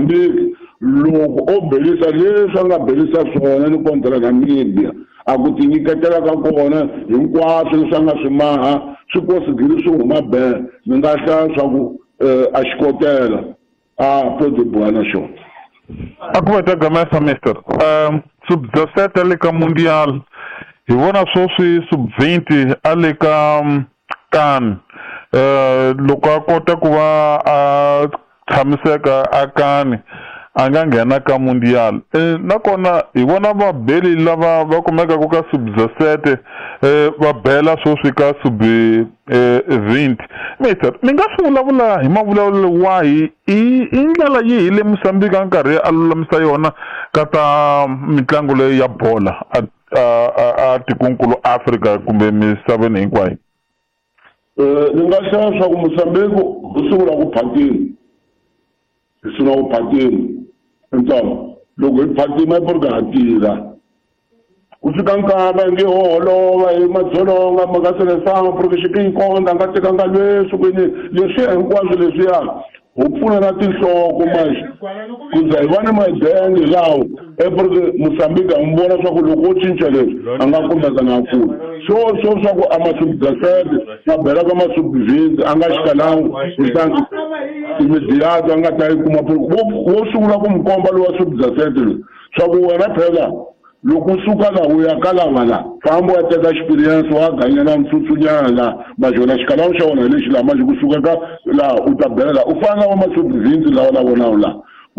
Mozambique loko o belisa leswi a nga belisa swona ni kontra Namibia a ku tinyiketela ka kona hinkwaswo leswi a nga swi maha swi kosigili swi huma be ni nga hlaya swa ku a xikotela a podi boha na xona. A ku veta gamesa mister sub-17 le ka mundial hi vona sweswi sub-20 a le ka CAN loko a kota ku va a tshamiseka a CAN a nga nghena ka mundial nakona hi vona vabeli lava va kumekaka ka sub-17 va bela sweswi ka sub-20 mister mi nga swi vulavula hi mavulavulelo wahi i ndlela yihi le Mozambique a nkarhi a lulamisa yona ka ta mitlangu leyi ya bola a tikonkulu Afrika kumbe misaveni hinkwayo? Ni nga hlaya swa ku Mozambique u sungula ku phatima hi sungula ku phatima ntsongo loko hi phatima i porque ha tirha ku fika nkama hi nge ho holova hi madzolonga ma nga selesango porque xikinkonda a nga tekanga leswi kwini leswiya hinkwaswo leswiya ho pfuna na tinhloko manje ku za hi va ni madenge lawo eporke Mozambique a n'wi vona swa ku loko wo cinca leswi a nga kumeka na kula so so swa ku a masubdasete ma bela ka masubvinti a nga xikalangu kutani imediato a nga ta yi kuma wo sungula ku n'wi komba lowa subdasete loyi swa ku wena phela loko u suka la u ya ka lava la famba u ya teka experience wa ganyela ntsutsunyana la majona xikalawu xa wona hi lexi laha manje kusuka ka laha u ta bela la u fana na va masubvinti lawa la vonaku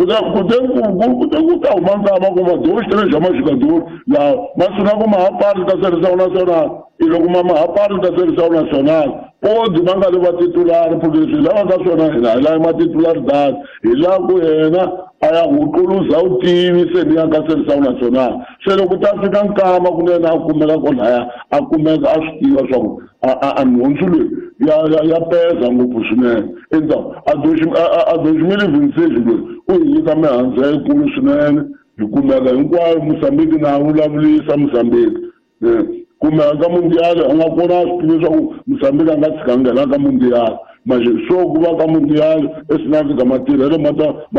la kute ku ta huma nkama ku madoro xitele xa maxikadoro laha ma sungula ku mahapari ta Seleção Nacional i loko ma mahapari ta Seleção Nacional podi ma nga ri va titulari porque leswi hi lavaka swona hina hi lava matitularidad hi lava ku yena a ya huquluza vutivi se ni ya ka Seleção Nacional se loko ta fika nkama kunene a kumeka kolaya a kumeka a swi tiva swa ku a nhundzu leyi ya peza ngopfu swinene endzhaku a 2026 loyi u hi nyika mihandzu yikulu swinene hi kumeka hinkwayo Mozambique na vulavulisa Mozambique kumeka ka mundial a nga kona a swi tivi leswaku Mozambique a nga tshika nghena ka mundial manje so ku va ka mundial esinafrika matirhelo ma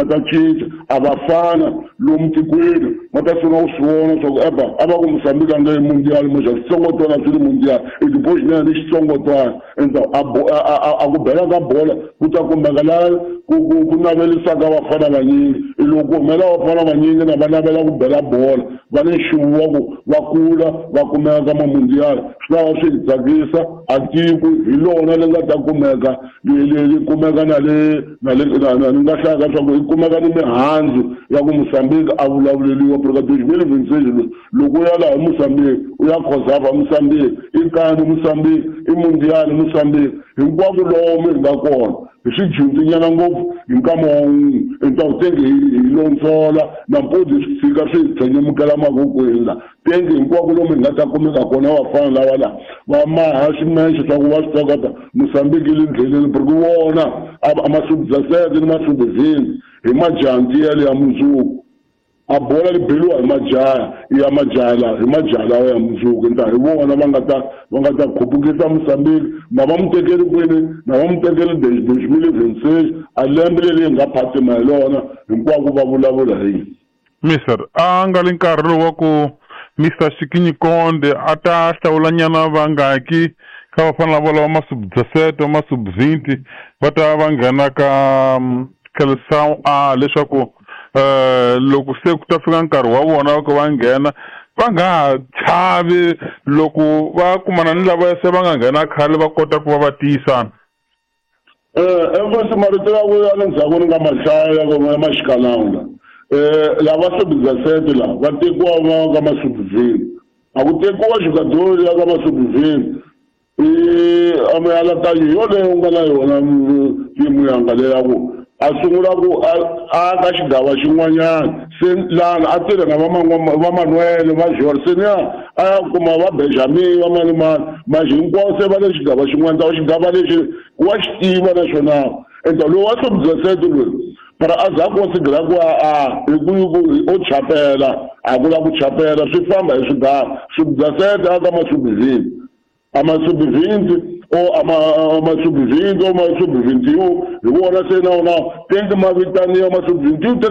ta cinca a va fana lomu tikweni ma ta sungula ku swi vona swa ku eba a va ku Mozambique a nga yi mundial manje switsongotwana swi ri mundial i tipoxinene ni xitsongotwana endzhaku a ku bela ka bola ku ta kumeka laha ku navelisaka vafana vanyingi i loko ku humela vafana vanyingi na va navela ku bela bola va ni nxuvu wa ku va kula va kumeka ka mamundial swi ta va swi hi tsakisa a tiko hi lona li nga ta kumeka li kumeka na le na le ni nga hlaya ka swa ku yi kumeka ni mihandzu ya ku Mozambique a vulavuleliwa porque 2026 loko u ya laha Mozambique u ya Cosafa Mozambique i CAN Mozambique i mundial Mozambique hinkwako lomu hi nga kona hi swi dyondzinyana ngopfu hi nkama wa wun'we hi tenge hi londzola nampundzu swi tshika swi hi tshenyemukela mavokweni la tenge hinkwako lomu hi nga ta kumeka kona vafana lava la va maha ximexe swa ku va swi tokota Mozambique yi le ndleleni porque wona a masubdasete ni masubvini hi majanti yale ya mundzuku a bola li beliwa hi majaha ya majaha la hi majaha lawa ya mundzuku nta hi vona va nga ta khupukisa Mozambique na va mu tekeli kwini na va mu tekeli 2026 a lembe leri hi nga phatima hi lona hinkwako va vulavula hi yini. Mister a nga li nkarhi lowu wa ku Mr Xikinyi Konde a ta hlawulanyana vangaki ka vafana lava lava masub-17 masub-20 va ta va nghena ka Seleção A leswaku loko se ku ta fika nkarhi wa vona ku va nghena va nga ha chavi loko va kumana ni lava se va nga nghena khale va kota ku va va tiyisana. Enkosi marito ya ku ya le ndzhaku ni nga ma hlaya ya maxikalanga lava sub-17 la va tekiwa va ka masub-20 a ku tekiwa xikadori ya ka masub-20 i a mianakanyo yoleyo u nga na yona timu yanga leya ku a sungula ku a ka xigava xin'wanyana se lana a tirha na va Manuel va George se niya a ya kuma va Benjamin va mani mani manje hinkwavo se va le xigava xin'wana ta xigava lexi wa xi tiva naxona enta lowu wa sub-17 loyi para a za considera ku a hi ku o chapela a ku la ku chapela swi famba hi swigava sub-17 a ka ma-sub-20 a ma-sub-20 o a ma-sub-20 o ma-sub-21 hi vona se na wona tenge ma vitaniwa ma-sub-21.